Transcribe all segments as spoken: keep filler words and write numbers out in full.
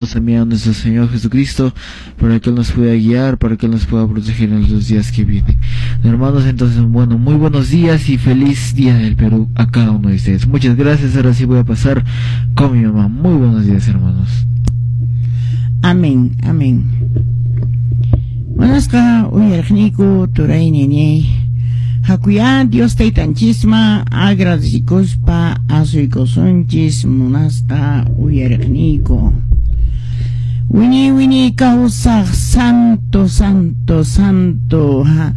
También a nuestro Señor Jesucristo para que Él nos pueda guiar, para que Él nos pueda proteger en los días que vienen. Hermanos, entonces, bueno, muy buenos días y feliz Día del Perú a cada uno de ustedes. Muchas gracias, ahora sí voy a pasar con mi mamá. Muy buenos días, hermanos. Amén, amén. Munasqa uyariqniyku turay ñañay. Hakuyá Dios taytanchisman agradecikuspa asuykusunchis munasqa uyariqniyku. Wiñay wiñay kawsaq santo, santo, santo ha,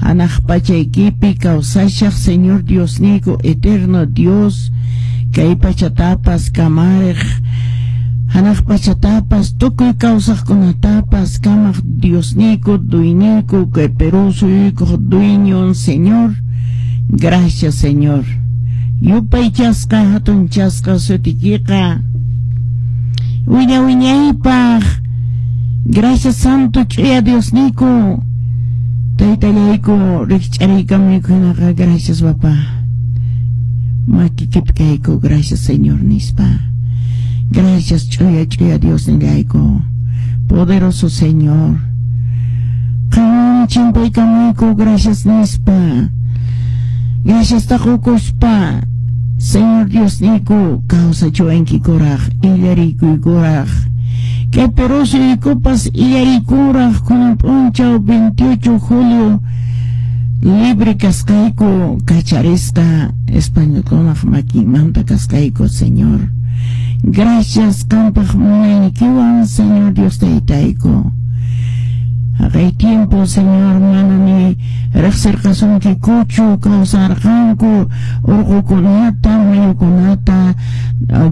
hanaq pachaykipi kawsashaq Señor Diosniyku, eterno Dios, kay pachatapas kamariq, hanaq pachatapas tukuy kawsaqkunatapas kamaq Diosniyku, duyniyku, kay Perú suyuykuq dueñon Señor. Gracias, Señor. Yupaychasqa hatunchasqa sutikiqa wiña wiñaypaq. Gracias, santo ch'uya Diosniyku, taytallayku, rikch'ariykamuyku hinaqa. Gracias, papá, makikipi kayku. Gracias, Señor nispa. Gracias, ch'uya ch'uya Diosnillayku, poderoso Señor. Qanwan chimpaykamuyku, gracias nispa. Gracias taqukuspa, Señor Diosniyku, kawsachiwankikuraq, illarikuykuraq. Kay Perú suyuykupas illariykuraq kunan p'unchaw veintiocho julio libre kasqayku, kacharisqa españolkunaq makinmanta kasqayku, Señor. Gracias qampaq munaynikiwan, Señor Dios taytayku. Haqay tiempo, Señor, mana ni riqsirqasunkikuchu, kawsarqanku urqukunata, mayukunata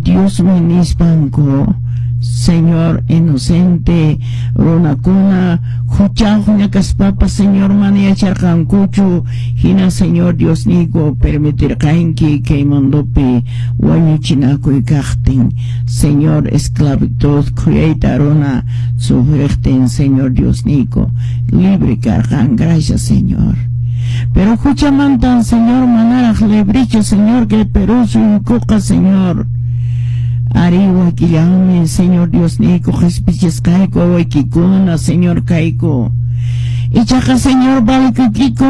Diosmi nispanku. Señor, inocente runakuna huchayuqña kaspapas, Señor, mana yacharqankuchu. Hina, Señor Diosniyku, permitirqanki kay mundopi wañuchinakuy kaqtin, Señor, esclavitud khuyayta runa sufriqtin, Señor Diosniyku, libre karqan. Gracias, Señor. Pero huchamantan, Señor, manaraq librechu, Señor, kay Perú suyukuqa, Señor. Ari wakillanmi, Señor Diosniyku, qhispichisqayku wawaykikuna, Señor, kayku. Ichaqa, Señor, valikuykiku,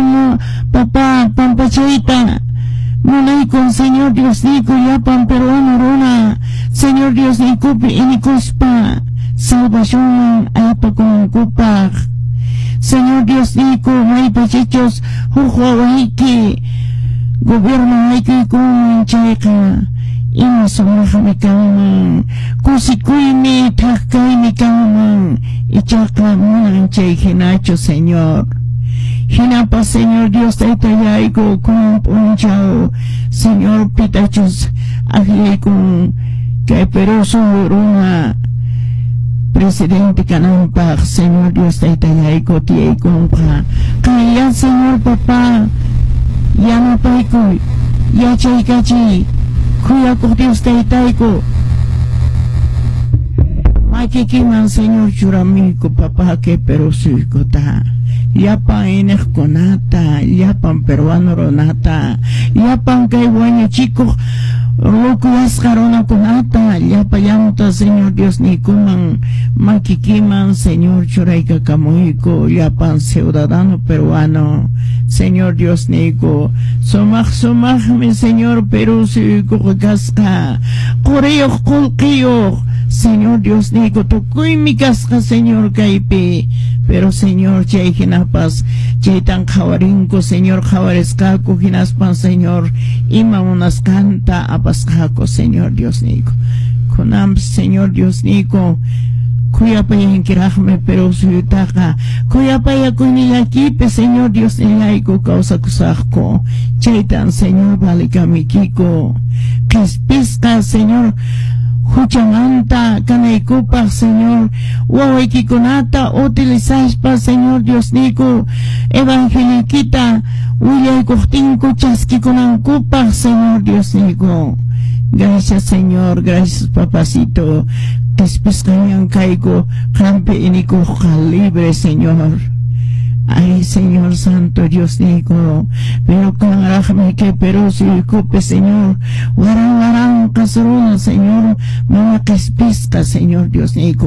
papá, pampachayta munaykun, Señor Diosniyku, llapan peruano runa, Señor Diosniykupi inikuspa salvacionman aypakunankupaq. Señor Diosniyku, maypachichus huk wawayki gobierno haykuykunman chayqa, ima sumaqmi kanman, kusikuymi, thak kaymi kanman. Ichaqa manan chay hinachu, Señor. Hinapas, Señor Dios taytallayku, kunan p'unchaw, Señor, pitachus akllaykun kay Perú suyu runa presidente kananpaq, Señor Dios taytallayku, tiyaykunqa. Qanlla, Señor, papá, yanapaykuy, yachaykachiy, khuyakuq Dios taytayku. Makikiman, Señor, churamuyku, papá, kay Perú suyukuta, llapan iniqkunata, llapan peruano runata, llapan kay wañuchikuq lukuyasqa runakunata, llapallanta, Señor Diosniykuman, makikiman, Señor, churaykakamuyku, llapan ciudadano peruano, Señor Diosniyku. Sumaq sumaqmi, Señor, Perú suyuykuqa kasqa, quriyuq, qullqiyuq, Señor Diosniyku, tukuymi kasqa, Señor, kaypi. Pero, Señor, chay hinapas chaytan qhawarinku, Señor, qhawarisqaku, hinaspan, Señor, ima munasqanta apasqaku, Señor Diosniyku. Kunanpas, Señor Diosniyku, khuyapayankiraqmi Perú suyutaqa, khuyapayakuynillakipi, Señor Diosnillayku, kawsakusaqku. Chaytan, Señor, valikamuykiku. Qhispisqa, Señor, huchamanta kanaykupaq, Señor, wawaykikunata utilizaspa, Señor Diosniyku, evangelioykita willaykuqtinku chaskikunankupaq, Señor Diosniyku. Gracias, Señor, gracias, papacito. Qhispisqañan kayku, qampi inikuqqa libre, Señor. Ay, Señor Santo Dios niyku, pero kanraqmi kay Perú suyukupi, Señor, waran waranqas runa, Señor, mana qispisqa, Señor Dios niyku.